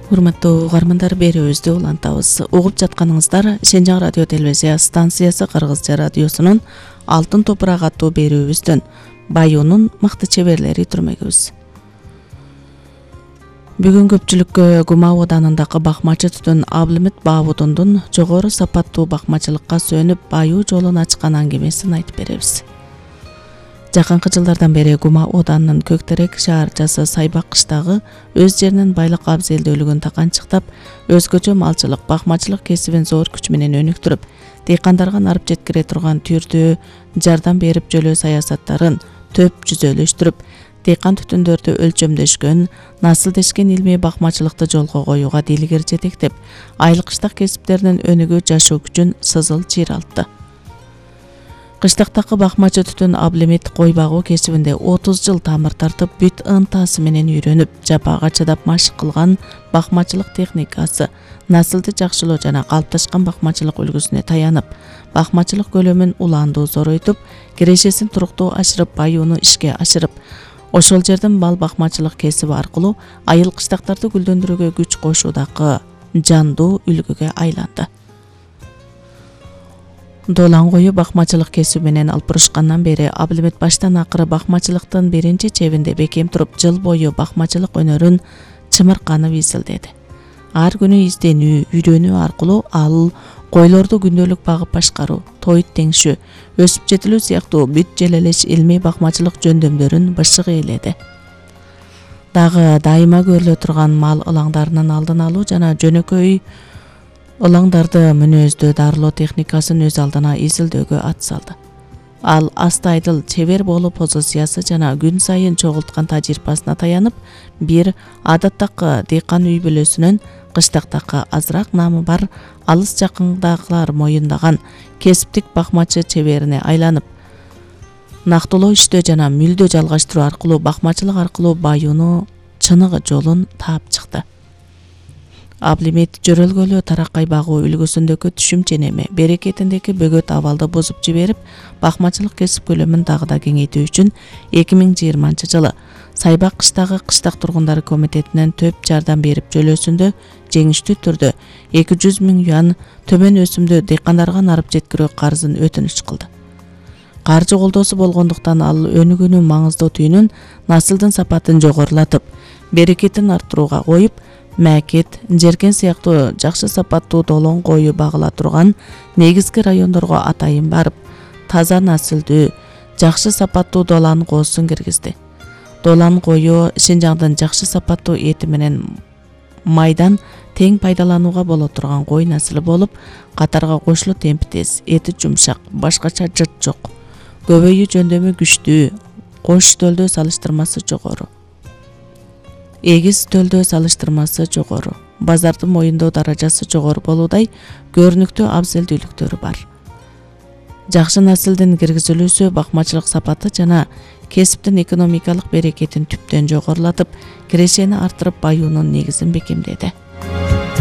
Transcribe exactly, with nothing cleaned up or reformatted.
Урматтуу угармандар, берүүбүздү улантабыз. Угуп жатканыңыздар Шенжаң радио телевизия станциясы Кыргызча радиосунун Алтын топурак аттуу берүүбүздөн Баюунун мыкты чеберлери түрмөгүбүз. Бүгүн көпчүлүккө Гума Оданындагы бакмачы түтүн Аблимит Баабудундун жогору сапаттуу бакмачылыкка сөнүп баюу жолун ачкан аңгемесин айтып беребиз. Жакынкы жылдардан бери Гума Оданынын Көктерек шаарчасы Сайбак кыштагы өз жеринин байлык абзелдүүлүгүн таканчыктап, өзгөчө малчылык, бакмачылык кесибин зор күч менен өнүктүрүп, дыйкандарга нарып жеткире турган түрдүү жардам берип жөлөө саясаттарын төп жүзөлөштүрүп, дыйкан түтүндөрдү өлчөмдөшкөн, насылдешкен илмий бакмачылыкты жолго коюуга дилгер жетектеп, айыл кыштак кесиптеринин өнүгүү жашоо күчүн сызыл чыйралтты. Кыштактагы бакмачы түтүн Аблимит кой багуу кесибинде отуз жыл тамыр тартып, бүт ынтасы менен үйрөнүп, жапага чыдап машык кылган бакмачылык техникасы, насылды жакшылоо жана калыпташкан бакмачылык үлгүсүнө таянып, бакмачылык көлөмүн улаандуу зоройтуп, кирешесин туруктуу ашырып, баюуну ишке ашырып, ошол жердин бал бакмачылык кесиби аркылуу айыл кыштактарды гүлдөндүрүүгө күч кошуудагы жандуу үлгүгө айланды. Долан кою бакмачылык кесиби менен алпурушкандан бери Аблимит баштан акыры бакмачылыктын биринчи чебинде бекем туруп, жыл бою бакмачылык өнөрүн чымырканып изилдеди. Ар күнү изденүү, үйрөнүү аркылуу ал койлорду күндөлүк багып башкаруу, тоyut теңшүү, өсүп жетилүү сыяктуу бүт желелеш илмий бакмачылык жөндөмдөрүн бышык ээледи. Дагы дайыма көрүлө турган мал ылаңдарынын алдын алуу жана жөнөкөй ылаңдарды мүнөздөө дарылоо техникасын өз алдына изилдөөгө ат салды. Ал астайдыл чебер болуу позициясы жана күн сайын чогулткан тажрыйбасына таянып, бир адаттагы дыйкан үй бүлөсүнөн кыштактагы азыраак наамы бар алыс жакындагылар моюндаган кесиптик бакмачы чеберине айланып, нактылоо иштөө жана мүлдө жалгаштыруу аркылуу бакмачылык аркылуу баюуну чыныгы жолун таап чыкты. Аблимит жөрөлгөлүү тараккай багуу үлгүсүндөгү түшүмчө неме, берекетиндеги бөгөт абалды бузуп жиберип, бакмачылык кесип көлөмүн дагы да кеңейтүү үчүн эки миң жыйырманчы жылы Сайбак кыштагы кыштак тургундары комитетинен төп жардам берип жөлөөсүндө жеңиштүү түрдө эки жүз миң юан төмөн өсүмдүү дыйкандарга нарып жеткирүү карызын өтүнүч кылды. Каржы колдоосу болгондуктан ал өнүгүүнүн маңыздуу түйүнүн насылдын сапатын жогорулатып, берекетин арттырууга коюп, Мәкет, Жеркен сыяктуу жакшы сапаттуу долон кою багыла турган негизги райондорго атайын барып, таза насылдуу, жакшы сапаттуу долан коосун киргизди. Долан кою Шенжаңдын жакшы сапаттуу эти менен майдан тең пайдаланууга боло турган кой насылы болуп, катарга кошулуу темпи тез, эти жумшак, башкача жыт жок, көбөйүү жөндөмү күчтүү, кош төлдөө салыштырмасы жогору. Эгиз төлдөө салыштырмасы жогору, базардын моюндоо даражасы жогору болуудай көрүнүктүү абзелдүүлүктөрү бар. Жакшы насылдын киргизилүүсү бакмачылык сапаты жана кесиптин экономикалык берекетин түптөн жогорулатып, кирешени арттырып, баюунун негизин бекемдеди.